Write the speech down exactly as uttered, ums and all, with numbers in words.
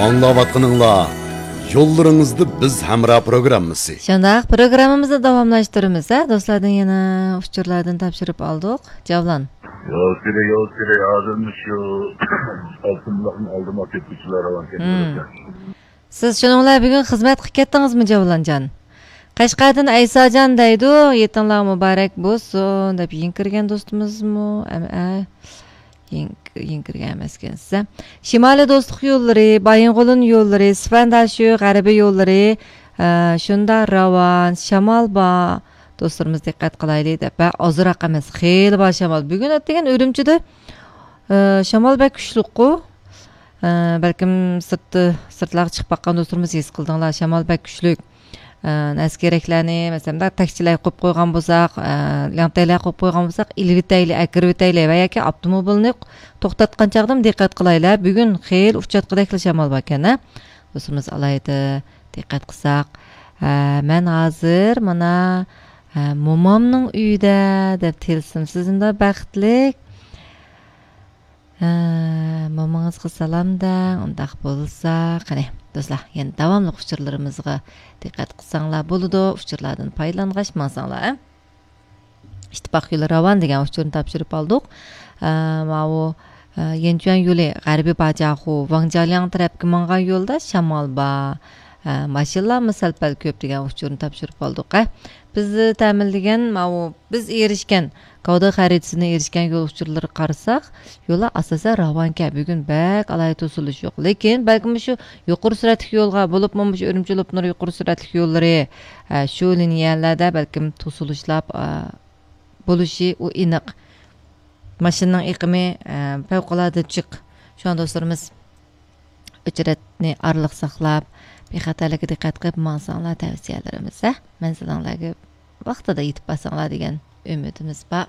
ئاڭلاۋاتقىنىڭلار يوللىرىڭىزدا بىز ھەمراھ پروگراممىسى. شۇنداق، پروگراممىمىزنى داۋاملاشتۇرىمىز، ھە، دوستلاردىن يەنە ئۇچۇرلاردىن تاپشۇرۇپ ئالدۇق. جەۋلان. يول سۈرە، يول سۈرە، ھازىرمۇ شۇ ئالتۇن بۇلاقنىڭ ئالدىما كەتكۈچىلەر راۋان كەتكۈچىلەر. سىز شۇنىڭ بىلەن بۈگۈن خىزمەتكە كەتتىڭىزمۇ، جەۋلانجان؟ قەشقەردىن ئەيساجان دەيدۇ، يېتىڭلار مۇبارەك بولسۇن، دەپ يېڭى كىرگەن دوستىمىزمۇ؟ ئەم-، ئە، يېڭى، يېڭى كىرگەن ئەمەسكەنسىز. شىمالىي دوستلۇق يوللىرى، بايىنغولىن يوللىرى، سىفەنداشۇ غەربىي يوللىرى، ئە، شۇنداق راۋان، شامال بار. دوستلىرىمىز دىققەت قىلايلى دەپ. ۋە ئازراق ئەمەس، خېلى بار شامال. بۈگۈن ئەتىگەن ئۈرۈمچىدە، ئە، شامال بەك كۈچلۈكقۇ. ئە، بەلكىم سىرتتا، سىرتلارغا چىقىپ باققان دوستلىرىمىز ھېس قىلدىڭلار، شامال بەك كۈچلۈك. ئە، نەرسە-كېرەكلەرنى، مەسىلەن، مۇنداق تەكچىلەر قويۇپ قويغان بولساق، ئە، لەڭتەيلەر قويۇپ قويغان بولساق، ئېلىۋېتەيلى، ئەكىرىۋېتەيلى ۋە ياكى ئاپتوموبىلنى توختاتقان چاغدىمۇ دىققەت قىلايلى. بۈگۈن خېلى ئۇچراتقۇدەكلا شامال باركەن، ھە؟ دوستىمىز ئالايىتى دىققەت قىلساق، ئە، مەن ھازىر مانا، ئە، مومامنىڭ ئۆيىدە دەپ تىلسىم. سىزمۇ بەختلىك. ھە، مومىڭىزغا سالام دەڭ، ئۇنداق بولسا. قېنى، دوستلار، يەنە داۋاملىق ئۇچۇرلىرىمىزغا دىققەت قىلساڭلار بولىدۇ. ئۇچۇرلاردىن پايدىلانغاچ ماڭساڭلار، ھە؟ ئىتتىپاق يولى راۋان دېگەن ئۇچۇرنى تاپشۇرۇپ ئالدۇق. ئە، ماۋۇ، ئە، يەنچۈەن يولى غەربىي باجاخۇ، ۋاڭجيالياڭ تەرەپكە ماڭغان يولدا شامال بار. ئە، ماشىنىلارمۇ سەل-پەل كۆپ دېگەن ئۇچۇرنى تاپشۇرۇپ ئالدۇق، ھە؟ بىز تەمىنلىگەن ماۋۇ بىز ئېرىشكەن، گاۋدې خەرىتىسىدىن ئېرىشكەن يول ئۇچۇرلىرىغا قارىساق، يوللار ئاساسەن راۋانكەن، بۈگۈن بەك ئالاھىدە توسۇلۇش يوق. لېكىن بەلكىم مۇشۇ يۇقىرى سۈرئەتلىك يولغا، بولۇپمۇ مۇشۇ ئۈرۈمچى لوپنۇر يۇقىرى سۈرئەتلىك يوللىرى، ئە، شۇ لىنىيەلەردە بەلكىم توسۇلۇشلار، ئە، بولۇشى ئۇ ئېنىق. ماشىنىنىڭ ئېقىمى، ئە، پەۋقۇلئاددە جىق. شۇڭا دوستلىرىمىز ئۆچرەتنى ئارىلىق ساقلاپ، بىخەتەرلىككە دىققەت قىلىپ ماڭساڭلار تەۋسىيەلىرىمىز، ھە؟ مەنزىلىڭلارغا ۋاقتىدا يېتىپ بارساڭلار دېگەن ئۈمىدىمىز بار.